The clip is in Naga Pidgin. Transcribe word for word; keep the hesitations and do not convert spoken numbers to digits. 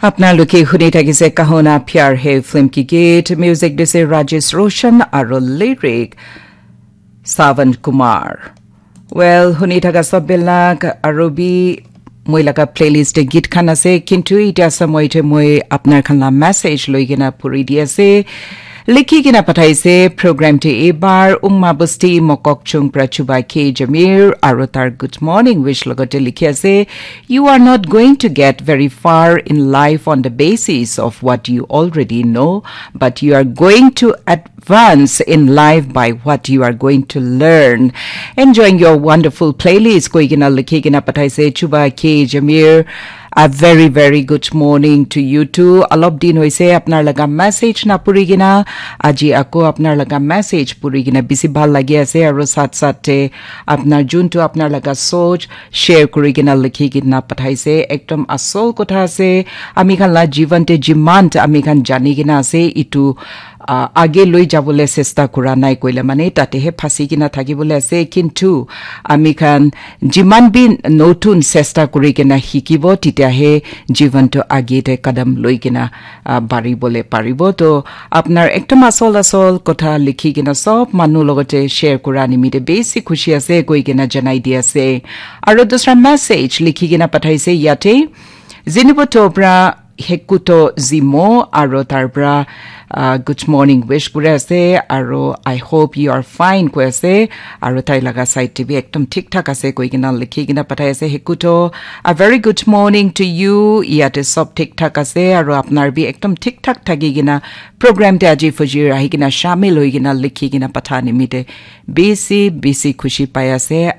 Apnaloke huni thakise Kahona Pyar Hai film ki geet, music dise Rajesh Roshan aro lyric Savan Kumar. Well, huni thaka sob bilak aro bi moi laga playlist te geet khan ase, kintu itya samoi te moi apnar khan la message loi kena puri di ase. Likhi kena pathaise program te ebar Umma Busti Mokokchung pra Chuba K Jamir aro tar good morning wish logote likhi ase. You are not going to get very far in life on the basis of what you already know, but you are going to advance in life by what you are going to learn. Enjoying your wonderful playlist koi kena likhi kena pathaise Chuba K Jamir. A very, very good morning to you too. Alop din hoise apnar laga message na puri kena, aji ako apnar laga message puri kena bisi bhal lagi ase, aro sat sat te apnar juntu apnar laga soch share kuri kena likhi kena pathaise. Ekdom asol kotha ase. Ami khan la jivan te jiman ami khan jani kena ase, itu ah, age loi jabole chesta kura nai koile mane tate he phasi kena thakibole ase, kintu ami khan jiman bi notun chesta kuri kena hikibo, titya he jivan to age te kadam loi kena, ah, baribole paribo. To apnar ekdom asol asol kotha likhi kena sob manu logote share kura nimite besi khushi ase koi kena janai di ase. Aro dusra message likhi kena pathaise yate, Zinibo Tobra Hekuto Zimo aro tar pra, uh, good morning wish kuri ase aro I hope you are fine koi ase aro tai laga side te bi ekdom thik thak ase koi kena likhi kena pathai ase. Hekuto, a very good morning to you. Yate sob thik thak ase aro apnar bi ekdom thik thak thaki kena program te aji fujir ahi kena shamil hoi kena likhi kena patha nimite bisi bisi khushi pai ase.